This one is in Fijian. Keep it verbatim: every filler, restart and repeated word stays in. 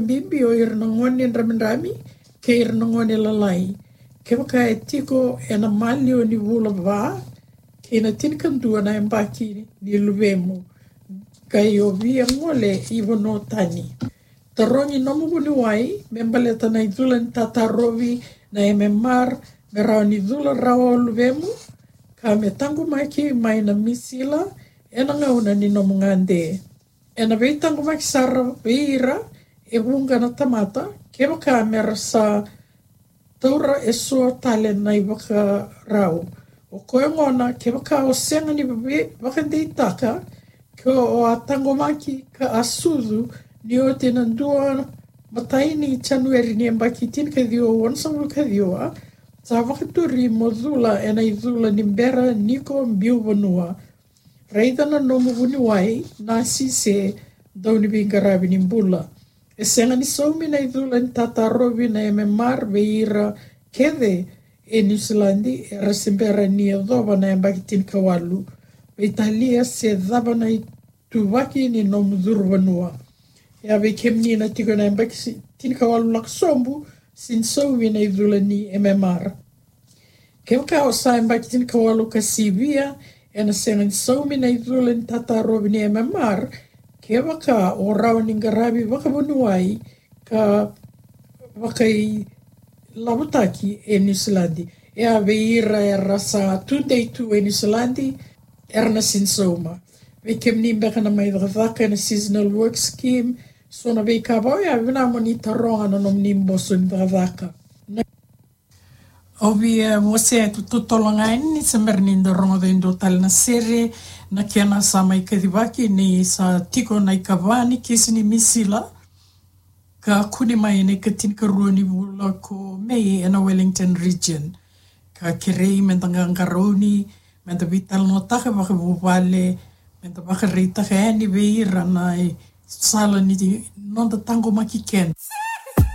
bibi o ira na gone dramidrami kei ira na gone lalai. Kevaka e tiko ena maliwa ni vula va kei na tinikadua na yabaki ni luvemu, qai o via gole i vanua tani. Tarogi nomu vuniwai me baleta na icula ni tatarovi na M M R me rawa ni cula rawa o luvemu, ka me taqomaki mai na misila ena gauna ni nomu gade. Ena veitaqomaki sara vei ira e vuqa na tamata kevaka me ra sa taura eso tale na ivakarau. O koya gona, kevaka o sega ni vei-, vakadeitaka ke o a taqomaki ka a sucu ni oti na dua matai ni Janueri ni yabaki tinikaciwa onosagavulu kaciwa, sa vakaturi mo cula ena icula ni bera ni ko biu vanua. Raica na nomu vuniwai, nasi se dau ni veiqaravi ni bula. E sega ni saumi na icula ni tatarovi na M M R vei ira kece e Niusiladi era se bera ni yacova na yabaki tinikawalu, veitalia se cava na ituvaki ni nomu curu vanua. E a vei kemuni na tiko na yabaki si-, tinikawalu lako sobu, sega ni saumi na icula ni M M R. Kevaka o sa yabaki tinikawalu ka sivia, ena sega ni saumi na icula ni tatarovi ni M M R kevaka o rawa ni qaravi vakavuniwai ka vakailavotaki e Niusiladi. E a vei ira era sa tudei tu e Niusiladi, era na sega ni sauma. Vei kemuni beka na mai cakacaka ena seasonal work scheme, so na veika vou ya, vinaka mo ni taroga na nomuni boso ni cakacaka. Na Au via wasea tu totolo ga yani ni se bera ni da rogoca e dua tale na sere, na kena sa mai kacivaki ni sa tiko na ikava ni kisi ni misila ka kune mai ena ikatinikarua ni vula ko Me ena Wellington region. Ka kerei me da qaqarauni, me da veitalanoataka vakavuvale, me da vakaraitaka yani vei ira na sala ni noda taqomaki keda.